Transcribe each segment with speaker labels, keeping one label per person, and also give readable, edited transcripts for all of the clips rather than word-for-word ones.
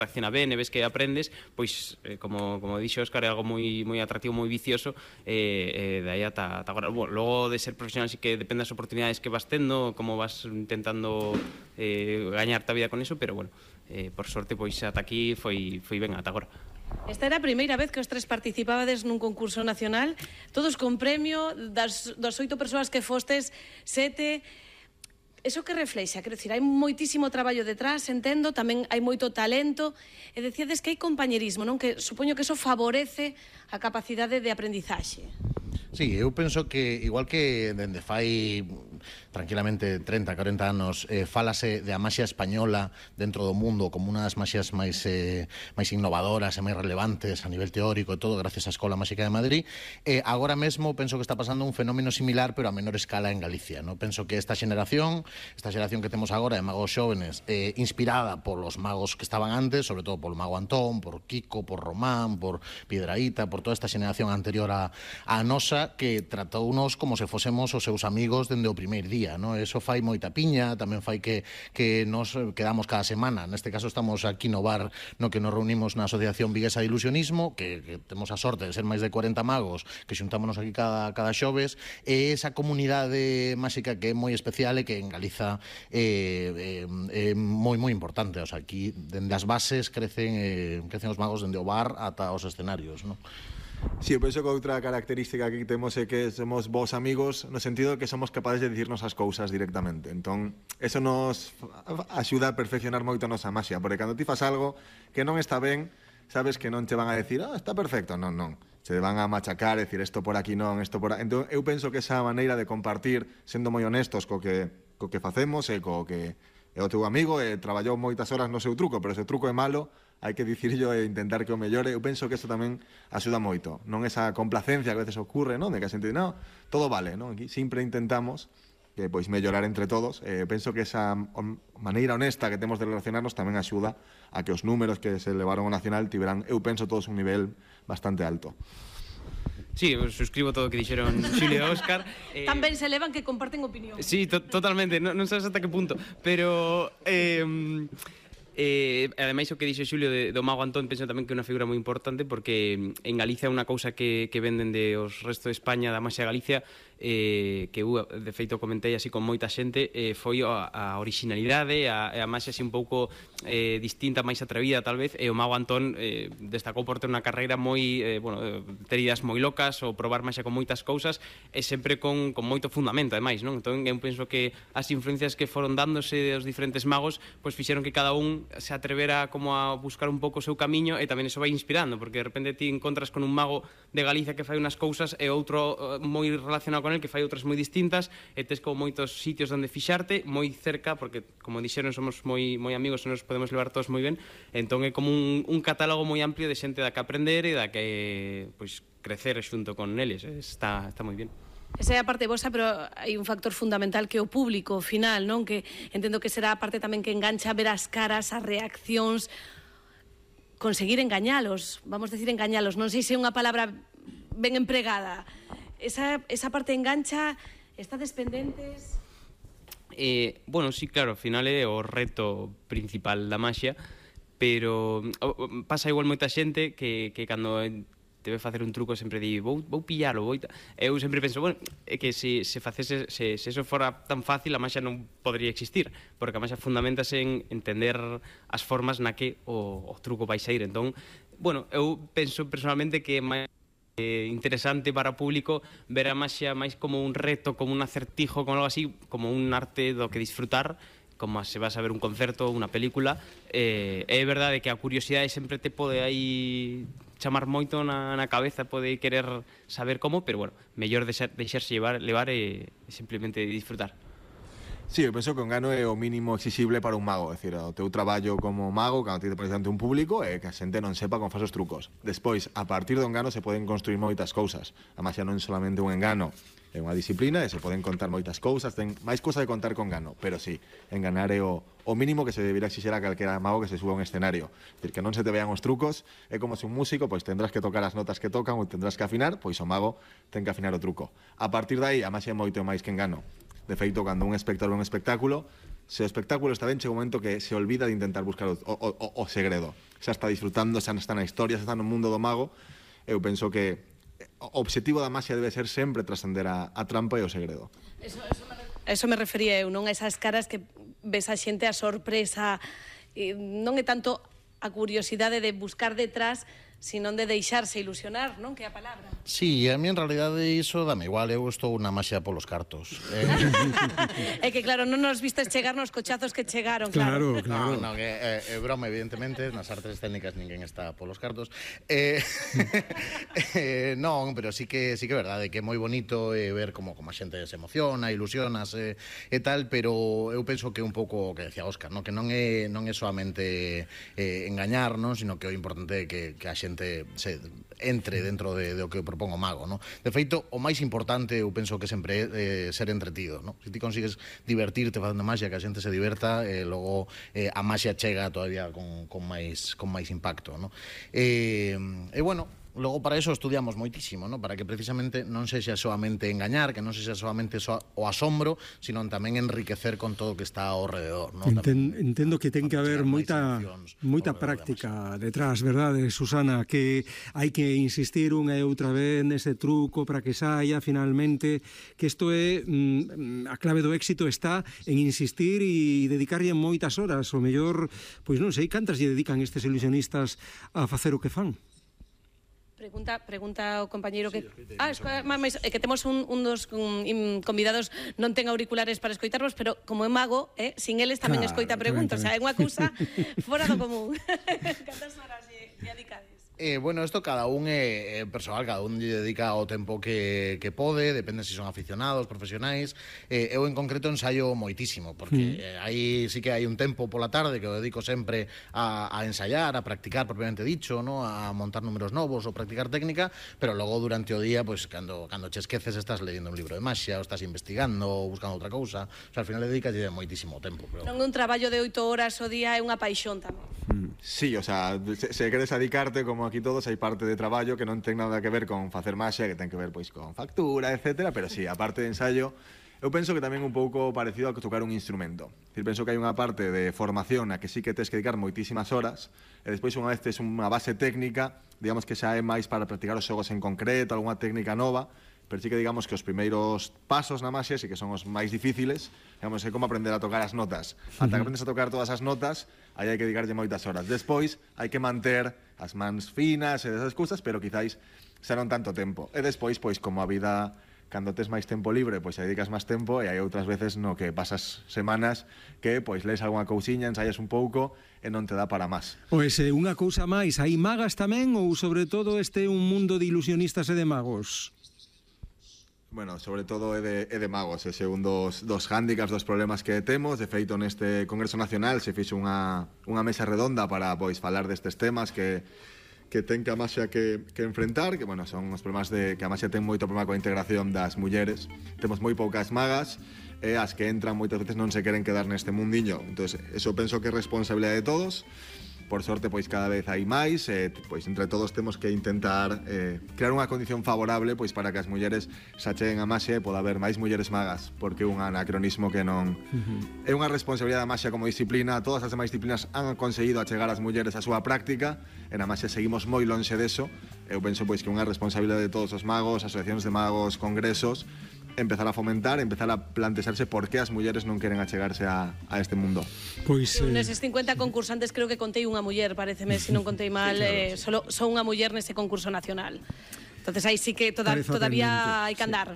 Speaker 1: reacciona ben e ves que aprendes, pois, como dixo Óscar, é algo moi atractivo, moi vicioso, e dai ata agora. Bueno, logo de ser profesional, sí que depende das oportunidades que vas tendo, como vas intentando gañarte a vida con eso, pero bueno, por sorte, pois ata aquí foi ben ata agora.
Speaker 2: Esta era a primeira vez que os tres participabades nun concurso nacional, todos con premio, das 8 persoas que fostes, 7... Eso que reflexa, quero dicir, hai moitísimo traballo detrás, entendo, tamén hai moito talento, e decíades que hai compañerismo, non? Que supoño que eso favorece a capacidade de aprendizaxe.
Speaker 3: Sí, eu penso que, igual que dende fai tranquilamente 30, 40 anos, fálase de a maxia española dentro do mundo como unha das maxias máis innovadoras e máis relevantes a nivel teórico e todo, gracias á Escola Máxica de Madrid, agora mesmo penso que está pasando un fenómeno similar, pero a menor escala en Galicia, ¿no? Penso que esta xeración que temos agora de magos xóvenes, inspirada polos magos que estaban antes, sobre todo polo mago Antón, por Kiko, por Román, por Piedraíta, por toda esta xeración anterior a nosa, que tratounos como se fosemos os seus amigos dende o primeiro día, ¿no? Eso fai moita piña, tamén fai que nos quedamos cada semana. Neste caso estamos aquí no bar no que nos reunimos na Asociación Viguesa de Ilusionismo, que temos a sorte de ser máis de 40 magos que xuntámonos aquí cada xoves, e esa comunidade máxica que é moi especial e que en Galiza é moi importante. O sea, aquí dende as bases crecen os magos dende o bar ata os escenarios, ¿no?
Speaker 4: Sí, eu penso que outra característica que temos é que somos vos amigos no sentido que somos capaces de dicirnos as cousas directamente. Entón, eso nos axuda a perfeccionar moito a nosa maxia, porque cando ti fas algo que non está ben, sabes que non te van a decir, está perfecto, non. Se van a machacar, decir, isto por aquí non, isto por aquí. Entón, eu penso que esa maneira de compartir, sendo moi honestos co que facemos e co que é o teu amigo, traballou moitas horas no seu truco, pero se o truco é malo, hai que dicirlo e intentar que o mellore. Eu penso que eso tamén axuda moito, non esa complacencia que a veces ocurre, non? De que a xente di, non, todo vale, non? Aquí sempre intentamos que pois mellorar entre todos. Penso que esa maneira honesta que temos de relacionarnos tamén axuda a que os números que se levaron ao nacional tiveran, eu penso, todos un nivel bastante alto.
Speaker 1: Sí, eu suscribo todo o que dixeron Xulio e Óscar.
Speaker 2: Tamén se levan que comparten opinión.
Speaker 1: Sí, totalmente, non sabes ata que punto, pero... ademais o que dixo Xulio do mago Antón, penso tamén que é unha figura moi importante, porque en Galicia é unha cousa que venden de os resto de España, da maxia Galicia, que eu de feito comentei así con moita xente, foi a originalidade, a maxia así un pouco distinta, máis atrevida tal vez, e o mago Antón destacou por ter unha carreira moi, ter ideas moi locas, ou probar maxia con moitas cousas, e sempre con moito fundamento, ademais, non? Entón eu penso que as influencias que foron dándose dos diferentes magos, pois fixeron que cada un se atrevera como a buscar un pouco o seu camiño, e tamén iso vai inspirando, porque de repente ti encontras con un mago de Galicia que fai unhas cousas e outro moi relacionado con el que fai outras moi distintas, e tes como moitos sitios onde fixarte, moi cerca, porque como dixeron somos moi amigos e nos podemos levar todos moi ben, entón é como un catálogo moi amplio de xente da que aprender e da que pois crecer xunto con eles. Está moi bien.
Speaker 2: Esa é a parte vosa, pero hai un factor fundamental que é o público final, non? Que entendo que será a parte tamén que engancha ver as caras, as reaccións, conseguir engañalos, vamos decir engañalos, non sei se é unha palabra ben empregada. Esa parte engancha, estades pendentes?
Speaker 1: Bueno, sí, claro, ao final é o reto principal da maxia, pero pasa igual moita xente que cando debe facer un truco sempre di vou pillalo, eu sempre penso, bueno, é que se eso fora tan fácil, a maxia non podría existir, porque a maxia fundamentase en entender as formas na que o truco vai sair. Entón, bueno, eu penso personalmente que é máis interesante para o público ver a maxia máis como un reto, como un acertijo, como algo así, como un arte do que disfrutar, como se vas a ver un concerto, unha película. É verdade que a curiosidade sempre te pode aí chamar moito na cabeza, pode querer saber como, pero bueno, mellor deixarse levar e simplemente disfrutar.
Speaker 4: Sí, eu penso que o engano é o mínimo exixible para un mago, é dicir, o teu traballo como mago, cando ti te pones ante un público, é que a xente non sepa como faz os trucos. Despois, a partir do engano se poden construir moitas cousas. A maxia non é solamente un engano, é unha disciplina e se poden contar moitas cousas, ten máis cousa de contar con engano, pero sí, enganar é o mínimo que se debería exixir a calquera mago que se suba a un escenario. É dicir, que non se te vean os trucos, é como se un músico, pois tendrás que tocar as notas que tocan ou tendrás que afinar, pois o mago ten que afinar o truco. A partir de aí, a maxia é moito máis que engano. De feito, cando un espectador ve un espectáculo, se o espectáculo está ben, chega un momento que se olvida de intentar buscar o segredo. Xa está disfrutando, xa está na historia, xa está no mundo do mago. Eu penso que o obxectivo da maxia debe ser sempre trascender a trampa e o segredo.
Speaker 2: Eso me refería eu, non? A esas caras que ves a xente, a sorpresa, non é tanto a curiosidade de buscar detrás, sino de deixarse ilusionar, non? Que é a palabra.
Speaker 3: Sí, a mí en realidade iso dame igual, eu estou unha maxia polos cartos.
Speaker 2: É que claro, non nos vistes chegar nos cochazos que chegaron, claro.
Speaker 3: Claro. No, que é broma, evidentemente, nas artes técnicas ninguén está polos cartos. Non, pero sí que é verdade que é moi bonito ver como a xente se emociona, ilusionase e tal, pero eu penso que é un pouco o que decía Óscar, no? Que non é soamente engañar, non? Sino que o importante é que a xente se entre dentro de o que propón o mago, no? De feito, o máis importante eu penso que sempre é ser entretido, no? Se ti consigues divertirte facendo maxia, que a xente se diverta, logo a maxia chega todavía con máis impacto, no? E bueno, logo para eso estudiamos moitísimo, no? Para que precisamente non sexa soamente engañar, que non sexa soamente o asombro, sino tamén enriquecer con todo o que está ao redor, no?
Speaker 5: Entendo que ten que haber moita práctica detrás, verdade, Susana, que hai que insistir unha e outra vez nese truco para que saia finalmente, que isto é a clave do éxito está en insistir e dedicarlle moitas horas, o mellor, pois non sei cantas lle dedican estes ilusionistas a facer o que fan.
Speaker 2: Pregunta o compañeiro que... que temos un dos convidados non ten auriculares para escoitarvos, pero como é mago, sin eles tamén escoita preguntas. O sea, é unha cousa fora do común. Cantas horas lle dedicades?
Speaker 3: Bueno, isto cada un é personal, cada un lle dedica o tempo que pode, depende se son aficionados, profesionais. Eu en concreto ensaio moitísimo, porque aí sí que hai un tempo pola tarde que o dedico sempre a ensaiar, a practicar propiamente dicho, ¿no? A montar números novos ou practicar técnica, pero logo durante o día, pues, cando che esqueces estás leyendo un libro de maxia, ou estás investigando, ou buscando outra cousa. O sea, al final dedicas moitísimo tempo. Pero...
Speaker 2: Non é un traballo de 8 horas o día, é unha paixón tamén.
Speaker 4: Sí, o sea, se queres dedicarte, como aquí todos, hai parte de traballo que non ten nada que ver con facer maxia, que ten que ver pois con factura, etcétera, pero sí, a parte de ensayo, eu penso que tamén un pouco parecido a tocar un instrumento. Decir, penso que hai unha parte de formación na que sí que tes que dedicar moitísimas horas, e despois unha vez tes unha base técnica, digamos que xa é máis para practicar os xogos en concreto, algunha técnica nova, pero sí que digamos que os primeiros pasos na maxia sí que son os máis difíciles, digamos, é como aprender a tocar as notas. Ata que aprendes a tocar todas as notas, aí hai que dedicarlle moitas horas. Despois, hai que manter as mans finas e desas cousas, pero quizáis xa non tanto tempo. E despois, pois, como a vida, cando tes máis tempo libre, pois dedicas máis tempo, e hai outras veces no que pasas semanas que, pois, lees algunha cousiña, ensaias un pouco, e non te dá para máis.
Speaker 5: Pois unha cousa máis, hai magas tamén, ou sobre todo este un mundo de ilusionistas e de magos?
Speaker 4: Bueno, sobre todo é de magos, ese un dos hándicaps, dos problemas que temos. De feito, neste Congreso Nacional se fixo unha mesa redonda para pois falar destes temas que ten que a maxia que enfrentar, que, bueno, son os problemas de que a maxia ten moito problema coa integración das mulleres. Temos moi poucas magas, e as que entran moitas veces non se queren quedar neste mundiño. Entón, eso penso que é responsabilidade de todos. Por sorte, pois cada vez hai máis, pois entre todos temos que intentar crear unha condición favorable pois para que as mulleres se acheguen a maxia e poda haber máis mulleres magas, porque é un anacronismo que non... É unha responsabilidade da maxia como disciplina, todas as demais disciplinas han conseguido achegar as mulleres á súa práctica, e na maxia seguimos moi lonxe deso. Eu penso pois que é unha responsabilidade de todos os magos, asociacións de magos, congresos, empezar a fomentar, empezar a plantearse por que as mulleres non queren achegarse a este mundo.
Speaker 5: Pois
Speaker 2: neses 50 concursantes creo que contei unha muller, pareceme, se non contei mal, só unha muller nese concurso nacional. Entonces aí sí que todavía hai que andar.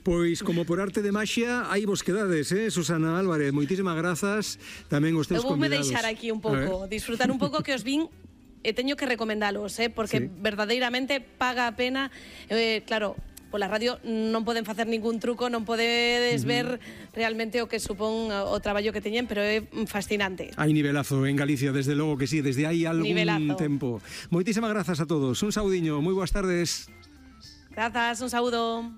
Speaker 5: Pois como por arte de maxia, aí vos quedades, Susana Álvarez, moitísimas grazas, tamén os teus convidados.
Speaker 2: Eu voume deixar aquí un pouco, disfrutar un pouco que os vin e teño que recomendalos, porque verdadeiramente paga a pena, claro, pola radio non poden facer ningún truco, non podedes ver realmente o que supón o traballo que teñen, pero é fascinante.
Speaker 5: Hai nivelazo en Galicia, desde logo que sí, desde hai algún tempo. Moitísimas grazas a todos, un saudiño, moi boas tardes.
Speaker 2: Grazas, un saúdo.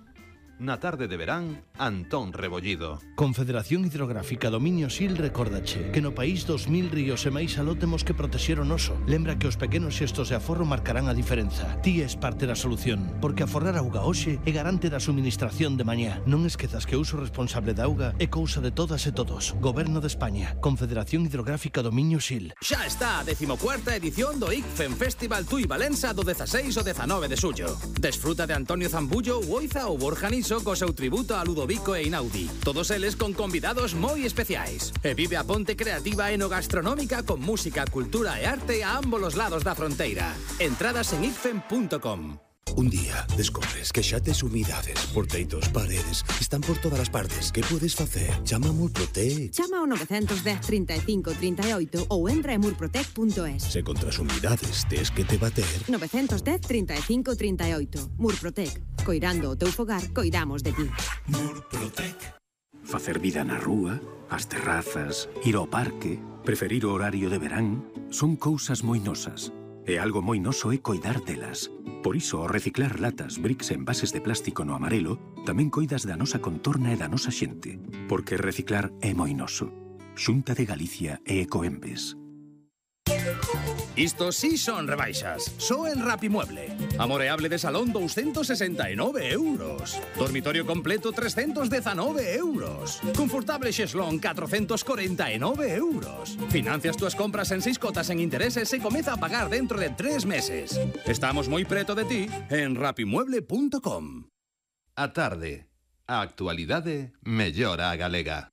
Speaker 6: Na tarde de verán, Antón Rebollido.
Speaker 7: Confederación Hidrográfica Dominio Sil recordache que no país 2000 ríos e máis aló temos que protexer o noso. Lembra que os pequenos xestos de aforro marcarán a diferenza. Ti és parte da solución, porque aforrar auga hoxe é garante da suministración de mañá. Non esquezas que o uso responsable da auga é cousa de todas e todos. Goberno de España, Confederación Hidrográfica Dominio Sil.
Speaker 8: Xa está a 14ª edición do ICFEM Festival Tui Valença do 16 ao 19 de xullo. Desfruta de Antonio Zambullo, Oiza ou Borja Niso co seu tributo a Ludovico e Inaudi. Todos eles con convidados moi especiais. E vive a ponte creativa e no gastronómica con música, cultura e arte a ambos os lados da fronteira. Entradas en icfem.com.
Speaker 9: Un día descobres que xa tes humidades por teitos, paredes, están por todas as partes. Que podes facer? Chama a Murprotec.
Speaker 10: Chama ao 910 35 38 ou entra en murprotec.es.
Speaker 9: Se contra as humidades tes que te bater.
Speaker 10: 910 35 38. Murprotec. Coirando o teu fogar, coidamos de ti.
Speaker 9: Murprotec. Facer vida na rúa, as terrazas, ir ao parque, preferir o horario de verán, son cousas moi nosas. E algo moi noso é coidar delas. Por iso, ao reciclar latas, bricks e envases de plástico no amarelo, tamén coidas da nosa contorna e da nosa xente. Porque reciclar é moi noso. Xunta de Galicia e Ecoembes.
Speaker 8: Isto sí son rebaixas. Só en Rapimueble. Amoreable de salón 269 euros. Dormitorio completo 319 euros. Confortable xeslón 449 euros. Financias túas compras en 6 cotas en intereses e comeza a pagar dentro de 3 meses. Estamos moi preto de ti en rapimueble.com.
Speaker 6: A tarde. A actualidade mellora a galega.